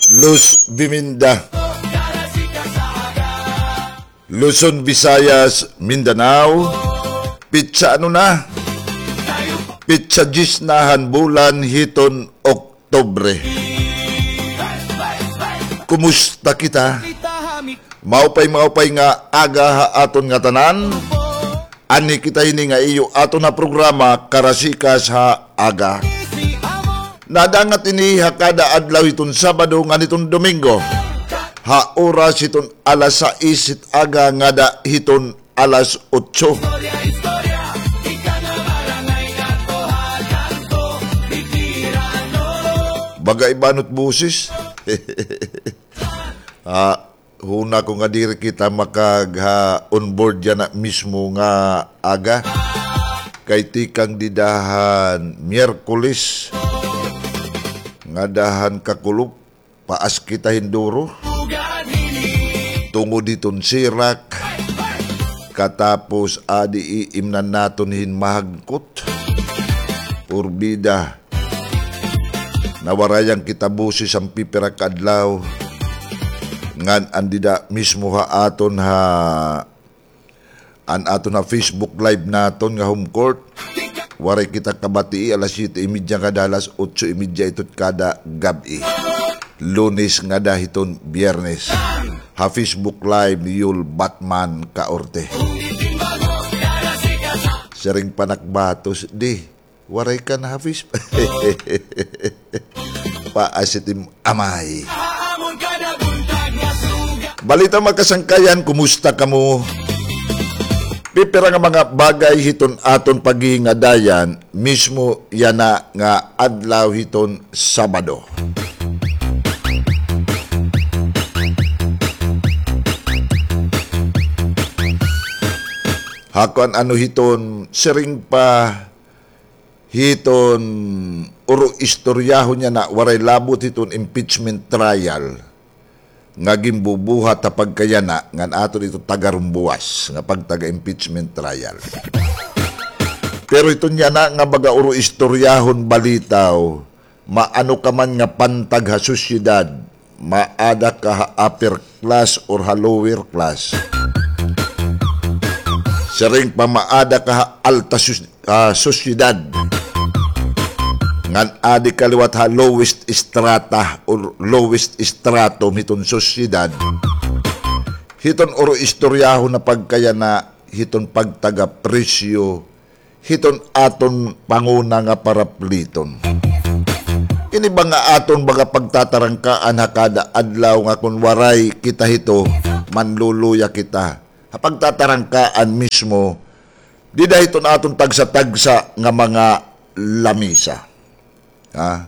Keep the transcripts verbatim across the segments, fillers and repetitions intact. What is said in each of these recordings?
Luz Biminda. Luzon, Visayas, Mindanao. Pitsa ano na? Pitsa diyes na han bulan hiton Oktubre. Kumusta kita? Maupay, maupay nga aga ha aton ngatanan. Anhi kita hini nga iyo aton ha programa, Karasikas ha Aga. Nadangat ini ha kada adlaw hiton Sabado ngan hiton Domingo, ha oras hiton alas sais hit aga ngada hiton alas otso. Baga iba an boses. Ah, huna ko nga diri kita makagha-onboard yana mismo nga aga. Kay tikang dida han Miyerkules, ngada han kakulop, paas kita hin duro. Tungod hiton sirak, katapos adi iimnan naton hin mahagkot. Porbida, nawarayan kita boses han pipira ka adlaw. Ngan an dida mismo ha aton ha, an aton ha Facebook Live naton nga Home Court, waray kita kabatii alas siyete y media ngada alas otso y media ito kada gab-i, Lunes ngada hiton Biyernes, ha Facebook Live ni Yul Batman Kaorte. Siring pa nak batos, di waray ka na ha Facebook. Paas it im amay. Balita, mga kasangkayan, kumusta kamo? Pipira nga mga bagay hiton aton paghihingadayan mismo yana nga adlaw hiton Sabado. Ha kuan ano hiton siring pa hiton uro-istoryahon yana, waray labot hiton impeachment trial nga ginbubuhat ha pagkayana ngan aton ito tagarumbuwas nga pagtaga-impeachment trial. Pero hiton yana nga baga uro-istoryahon balitaw, maano ka man nga pantag ha sosyedad, maada ka ha upper class or ha lower class. Siring pa, maada ka ha alta sos-, ah, sosyedad. Ngan adi ka liwat ha lowest strata or lowest stratum hiton sosyedad. Hiton uro-istoryahon na pagkayana hiton pagtaga-presyo hiton aton panguna nga parapliton. Ini ba nga aton baga pagtatarangkaan ha kada adlaw nga kon waray kita hito, manluluya kita. Ha pagtatarangkaan mismo, dida hiton aton tagsa-tagsa nga mga lamisa. Ha?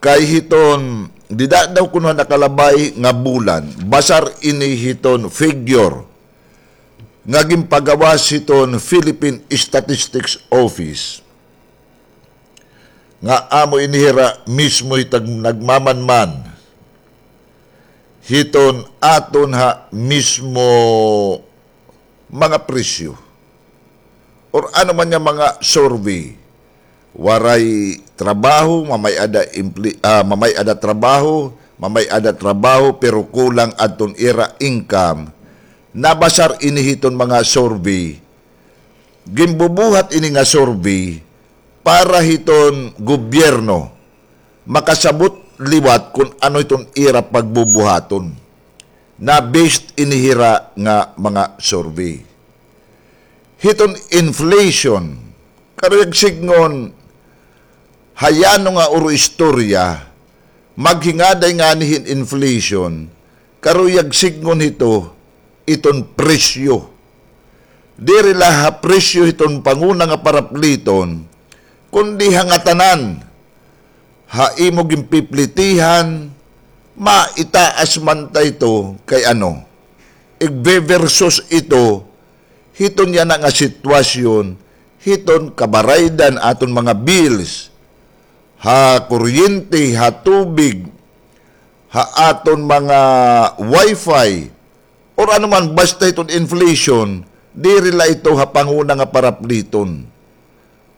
Kay hiton, dida daw kuno ha nakalabay nga bulan, basar ini hiton figure nga ginpagawas hiton Philippine Statistics Office, nga amo ini hira mismo hitag nagmamanman hiton aton ha mismo mga presyo or ano man nga mga survey. Waray trabaho, mamay-ada empli-, ah, mamay-ada trabaho, mamay-ada trabaho, pero kulang adton ira income. Nabasar ini hiton mga survey. Ginbubuhat ini nga survey para hiton gobyerno makasabot liwat kon ano hiton ira pagbubuhaton. Na-based ini hira nga mga survey. Hiton inflation, karuyag sidngon, ha yano nga uro-istorya, maghingaday ngani hin inflation, karuyag sidngon hito, iton presyo. Diri la ha presyo hiton panguna nga parapliton, kundi ha ngatanan. Ha imo ginpiplitihan, maitaas man ta ito kay ano, igbe-versus ito hiton yana nga sitwasyon, hiton kabaraydan aton mga bills, ha kuryente, ha tubig, ha aton mga wifi, or ano man, basta hiton inflation, diri la ito ha panguna nga parapliton.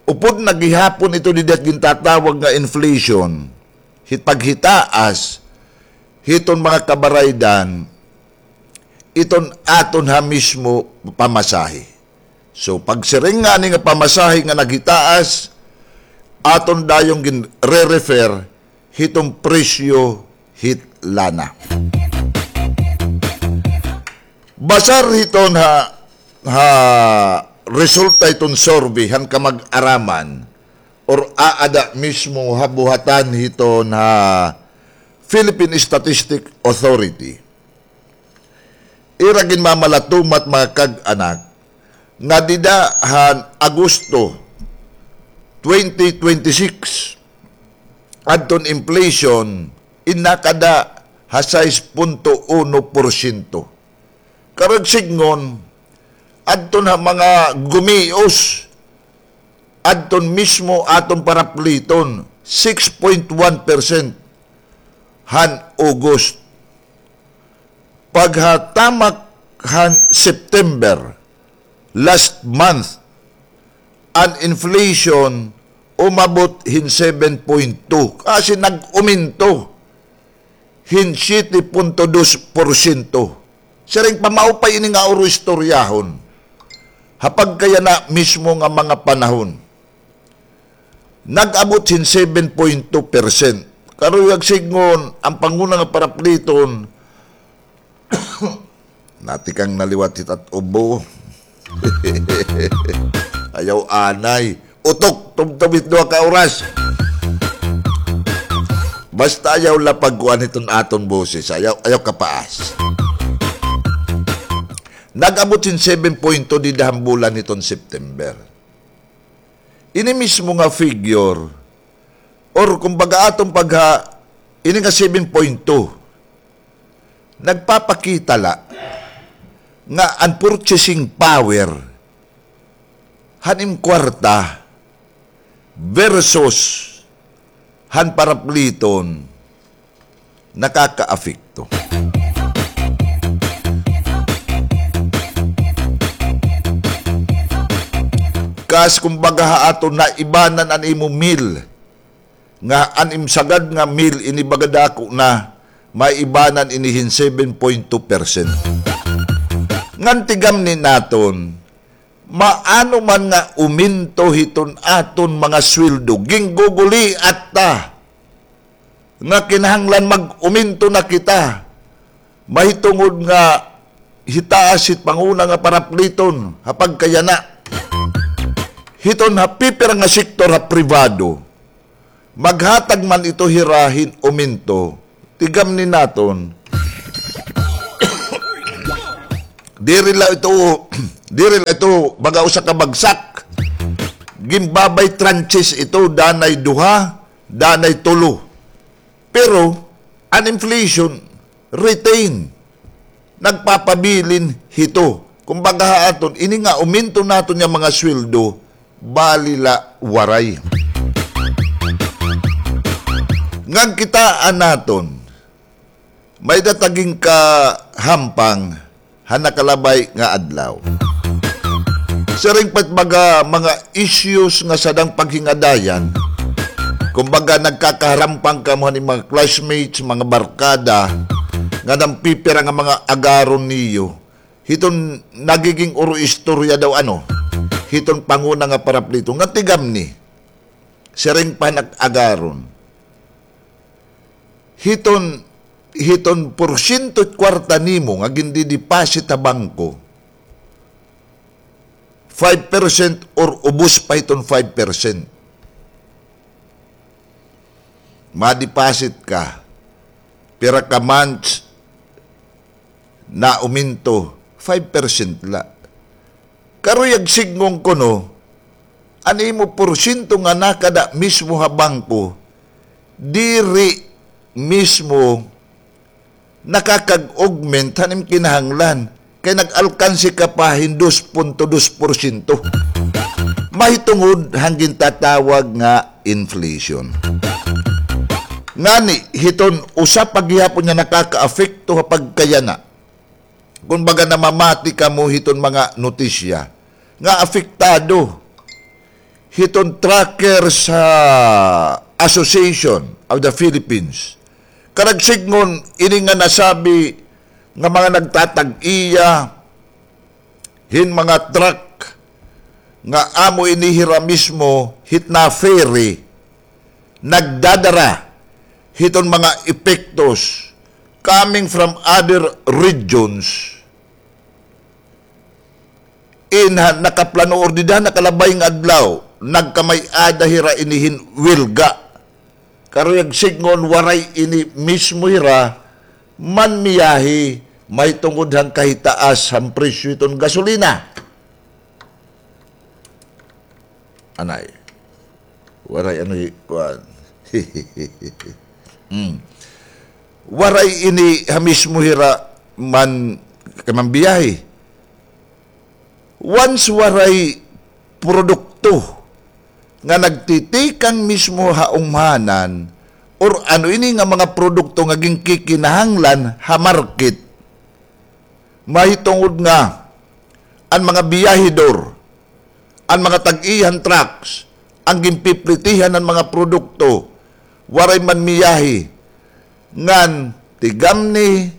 Upod na gihapon ito dida gintatawag nga inflation, hit paghitaas, hiton mga kabaraydan, iton aton ha mismo pamasahe. So, pagsiring ngani nga pamasahe nga naghitaas, aton dayong gin-re-refer hiton presyo hit lana. Basar hiton ha, ha resulta hiton survey han kamag-araman or aada mismo ha buhatan hiton ha Philippine Statistic Authority. Ira ginmamalatumat, mga kag-anak, nga dida han Agosto twenty twenty-six, adton inflation in nakada ha sais punto uno porsyento. Karuyag sidngon, adton ha mga gumios, adton mismo aton parapliton, six point one percent han August. Paghatamak han September, last month, an inflation umabot hin seven point two. Kasi nag-uminto hin siyete punto dos porsyento. Siring pa, maupay ini nga uro istoryahon. Ha pagkayana mismo nga mga panahon, nag-abot hin seven point two percent. Karuyag sidngon, an panguna nga parapliton, natikang na liwat hit at ubo. Ayaw anay. Utok, tubtob hit duha ka oras. Basta ayaw la pagkuan hiton aton boses. Ayaw, ayaw kapaas. Nag-abot hin seven point two dida han bulan hiton September. Ini mismo nga figure, or kumbaga aton pagha, ini nga seven point two, nagpapakita la nga an purchasing power han im kwarta versus han parapliton nakakaapekto. Kas kumbaga ha aton, naibanan an imo meal, nga an im sagad nga meal ini baga dako na, maibanan ini hin seven point two percent. Ngan tigamni naton, maano man nga uminto hiton aton mga sweldo, gingguguliat ta nga kinahanglan mag-uminto na kita, mahitungod nga hitaas hit panguna nga parapliton ha pagkayana. Hiton ha pipira nga sektor ha pribado, maghatag man ito hira hin uminto, tigamni naton. Diri la ito, diri la ito baga usa ka bagsak. Ginbabay tranches ito, danay duha, danay tulo. Pero an inflation, retain, nagpapabilin hito. Kumbaga ha aton, ini nga uminto naton nga mga sweldo, bali la waray. Ngan kitaa naton, may-ada ta ginkahampang ha nakalabay nga adlaw. Siring pa it mga, mga issues nga sadang paghingadayan, kumbaga, nagkakaharampang kamo han mga classmates, mga barkada, nga nagpipira nga mga agaron niyo, hiton nagiging uro istorya daw, ano, hiton panguna nga paraplito. Nga tigamni, siring pa han agaron, hiton, hiton porsyento it kwarta nimo nga gindideposit ha bangko, five percent or ubos pa hiton five percent. Ma-deposit ka, pira ka months, nauminto, five percent la. Karuyag sidngon kuno, an imo porsyento nga nakada mismo ha bangko, diri mismo nakakag-augment han im kinahanglan, kay nag-alkanse ka pa hin dos punto dos porsyento. Mahitungod han gintatawag nga inflation. Ngani, hiton usa pa gihapon nga nakakaapekto ha pagkayana. Kumbaga, namamati kamo hiton mga notisya nga apektado hiton Truckers, ah, Association of the Philippines, Karuyag sidngon, ini nga nasabi nga mga nagtatag-iya hin mga truck nga amo ini hira mismo hit na-ferry, nagdadara hiton mga epektos coming from other regions. In ha nakaplano or dida nakalabay nga adlaw, nagkamay-ada hira ini hin welga. Karuyag sidngon, waray ini mismo hira manmiyahe mahitungod han kahitaas han presyo hiton gasolina. Anay. Waray ano hi-, kuan. Hmm. Waray ini ha mismo hira man, kay manbiyahe. Once waray produkto nga nagtitikang mismo ha umhanan, or ano ini nga mga produkto nga ginkikinahanglan ha market, mahitungod nga an mga biyahedor, an mga tag-iya han trucks, an ginpiplitihan han mga produkto, waray manmiyahe, ngan tigamni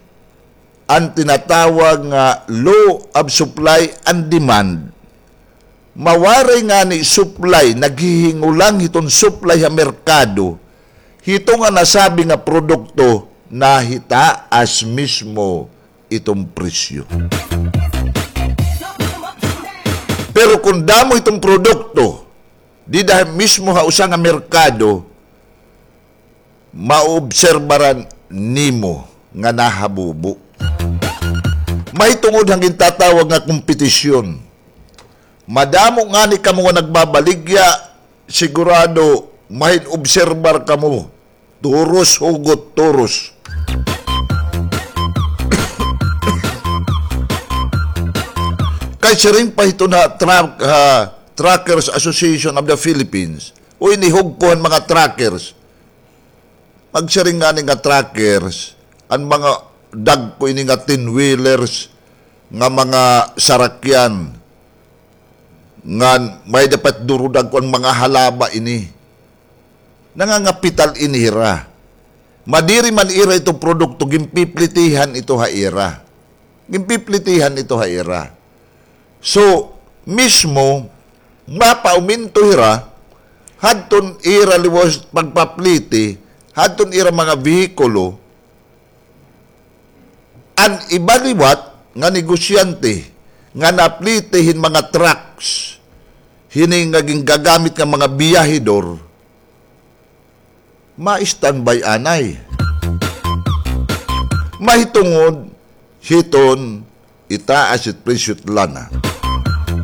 an tinatawag nga law of supply and demand. Mawaray ngani supply, naghihingulang hiton supply ha merkado, hito nga nasabi nga produkto nahitaas mismo iton presyo. Pero kon damo iton produkto dida mismo ha usa nga merkado, maobserbaran nimo nga nahabubo. Mahitungod han gintatawag nga kompetisyon. Madamo ngani kamo nga nagbabaligya, sigurado mahin-obserbar kamo. Turos, hugot, turos. Kay siring pa hiton ha Truck-, ha Truckers Association of the Philippines, o ini hugko han mga truckers. Magsiring ngani nga truckers, an mga dagko ini nga ten-wheelers, nga mga sarakyan, ngan may dapat duro dagko an mga halaba ini. Nangangapital ini hira. Madiri man ira ito produkto, ginpiplitihan ito ha ira. Ginpiplitihan ito ha ira. So, mismo, mapauminto hira, hadton ira liwat pagpapliti, hadton ira mga behikulo, an iba liwat nga negosyante nga napliti hin mga trucks, hini nga gingagamit nga mga biyahedor, ma-standby anay. Mahitungod hiton itaas it presyo hit lana.